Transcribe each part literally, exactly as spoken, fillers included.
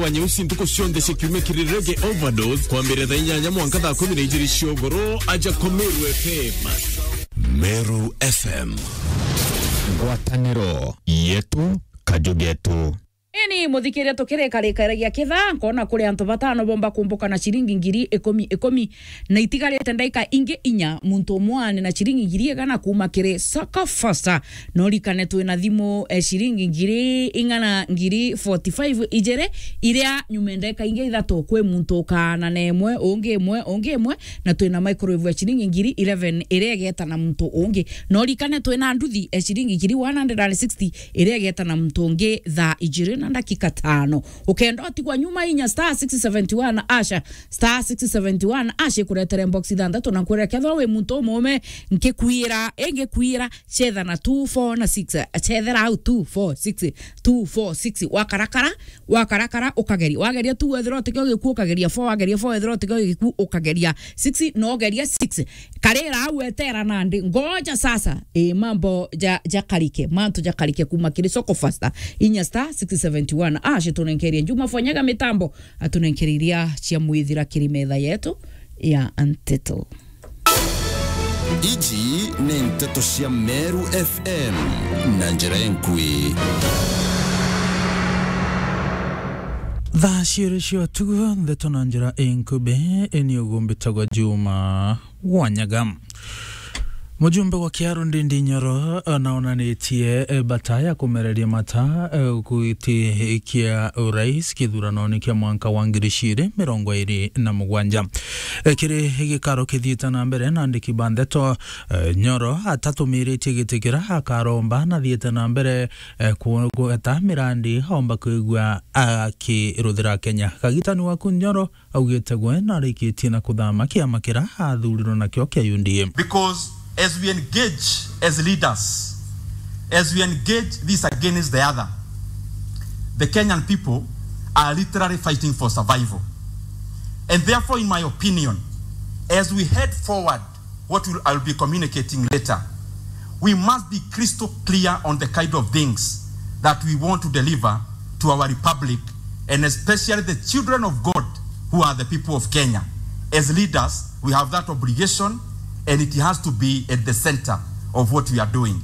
wa nyeusi ntuku cionthe cia kiumia kiri Reggae Overdose, kwambiriria thaa inyanya mwanka thaa kumi na ijiri cia ugoro, aja kwa Meru F M. Meru F M. Ngwataniro yetu, kaju getu. Ini muthikiria tukirikarikaragia kithaa, nkona kuri antu batano bomba kumbuka na ciringi ngiri ikumi ikumi, na itigarite ndaika ingi inya, muntu umwe aane na ciringi ngiri igana kuuma kiri Soko Fasta. No rikane twina thimu, eh, ciringi ngiri ing'ana ngiri forty-five ijiri, iria nyuma ndeka ingi ithatu kwi muntu ukaana na imwe, ungi imwe, ungi imwe, na twina microwave ya ciringi ngiri eleven iria igeta na muntu ungi. No rikane twina nduthi, eh, ciringi ngiri one hundred and sixty iria igeta na muntu ungi thaa ijiri na ndakika tano. Ukenda utigwa nyuma, inya star six seventy one asha, star six seventy one asha ikuretere box ithanthatu na kwira kethwa wi muntu umume, nkikwira, ingikwira, chetha na two four na six, chethera au two four six, two four six, wakarakara, wakarakara, ukageria, wageria two, wethira utikio gikuu, ukageria four, wageria four, wethira utikio gikuu, ukageria six, na ugeria six. Karira au, etera nandi, ngoja sasa, e, mambo ja, jakarike, mantu jakarike kuuma kiri Soko Fasta, inya star six seventy one asha tunenkerie Juma Fonyaga mitambo, atunenkerie iria cia mwithira kiri metha yetu ya Nteto. Iji ni nteto cia Meru F M na njira inkui. Thaa ciiri cia utuku, nteto na njira inkubi, ini ugumbitagwa Juma Wanyaga. Mujumbe wa Kiharu Ndindi Nyoro, eh, naonanitie, eh, bata ya kumereria mata, eh, gwitikia urais kithuranoni kia mwanka wa ngiri ciiri mirongo iri na mugwanja. Eh, kiri gikaro kithiite na mbere na andiki ba ndeto, eh, Nyoro atatumiritie giti kira akaromba na thiite na mbere, eh, kugweta mirandi aomba kwigua akiruthira Kenya. Kagitani waku Nyoro augite gwe narikitie na kuthama kiama kira athurirwe nakio kia U D A. Because as we engage as leaders, as we engage this against the other, the Kenyan people are literally fighting for survival. And therefore, in my opinion, as we head forward, what will, I'll be communicating later, we must be crystal clear on the kind of things that we want to deliver to our republic, and especially the children of God who are the people of Kenya. As leaders, we have that obligation, and it has to be at the center of what we are doing.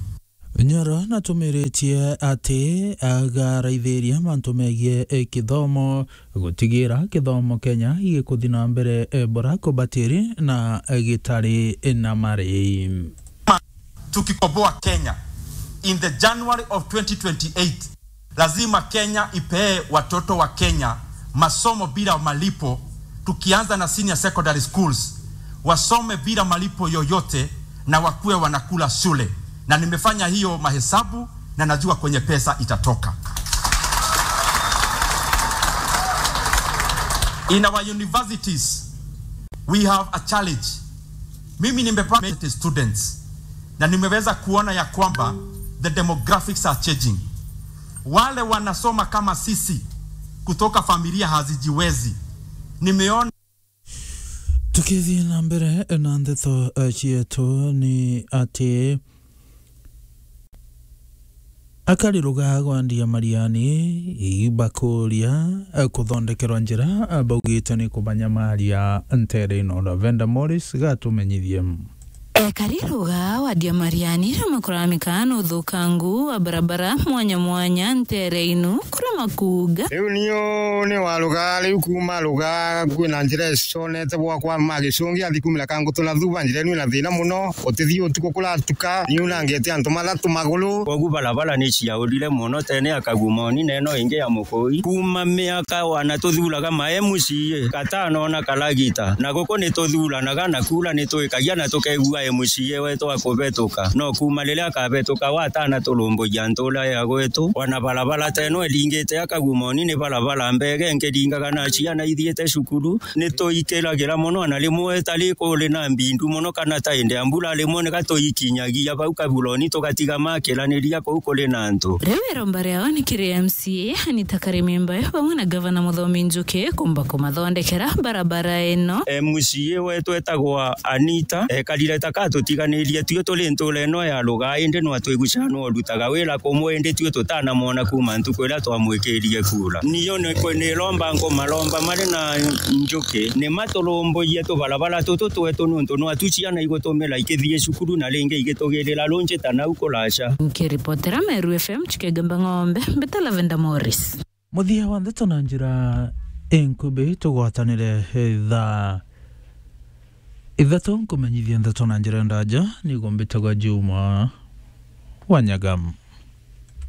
Nyoro natumiritie ati agaraithiria mantu megie, eh, kithomo, gutigira kithomo Kenya gikuthi na mbere, eh, bora kubatiri na, eh, gitari na marei. Tukikoboa Kenya in the January of twenty twenty-eight, lazima Kenya ipee watoto wa Kenya masomo bila malipo, tukianza na senior secondary schools, wasome bila malipo yoyote na wakuwe wanakula shule. Na nimefanya hiyo mahesabu na najua kwenye pesa itatoka. In our universities, we have a challenge. Mimi nimepata students na nimeweza kuona ya kwamba the demographics are changing. Wale wanasoma kama sisi kutoka familia hazijiwezi, nimeona. Tukithii na mbere na ndeto, eh, cietu ni ati akari rugaa gwa Ndia Mariani ibakuria, eh, kuthondekerwa njira, eh, baugite ni kubanyamaria ntere ino. Lavender Morris gatumenyithie. Ekari rugaa wa Ndia Mariani riu makuramika na uthukangu wa barabara mwanya mwanya ntere ino kuria makuuga. Riu niu ni wa rugaa, riu kuuma rugaa kwina njira iconete bwakwa ma gicungi athi kumira kangutu na thuba njira ino ina thina muno, utithii utuku kuratuka, niu nangete antu mathatu maguru. Kogu barabara ni ciaurire muno tene ya Kagumoni na ino ingi ya Mukui. Kuuma miaka wana tuthuraga ma M C A, gatano na karagita, na guku ni tuthuranaga na kura ni twikagia na tukegua M C A wetu akubetuka. No kuuma riria akabetuka watana turumbuja ntura ya gwetu, wana barabara teno iringite ya Kagumoni ni barabara mbege nkiringaga na ciana ithiite cukuru, ni tuikiragira muno, na rimwe tari kuri na mbindu muno kana ta indi ya mbura, rimwe ni gatuikinyagia bau kaburoni tugatiga makiraniria kuu kuri na antu. Riu iromba riao ni kiri M C A Anita Karimimba bamwe na Gavana Muthomi Njuki kumba kumathondekera barabara ino. M C A wetu etagwa Anita, ekarire ta atutiganirie tui turi ntuura ino ya rugaa, indi nwa twigucanwa urutaga wira kumwe, indi tui tutanamwona kuuma ntuku iria twamwikirie kuura. Niyo ni kwe ni romba nkumaromba mari na njuki, ni maturumburie tubarabara tutu twetu, niuntu nwa tu ciana igutumira ikithii cukuru na ringi igitugirira runji ta nau kuraca. Nkiripotera Meru F M, Chikegamba Ng'ombe, mbita Lavender Morris. Muthia wa ndeto na njira inkubi, tugwatanire thaa ithatu nkumenyithia ndeto na njira ndaja, niguo mbitagwa Juma wa Nyaga.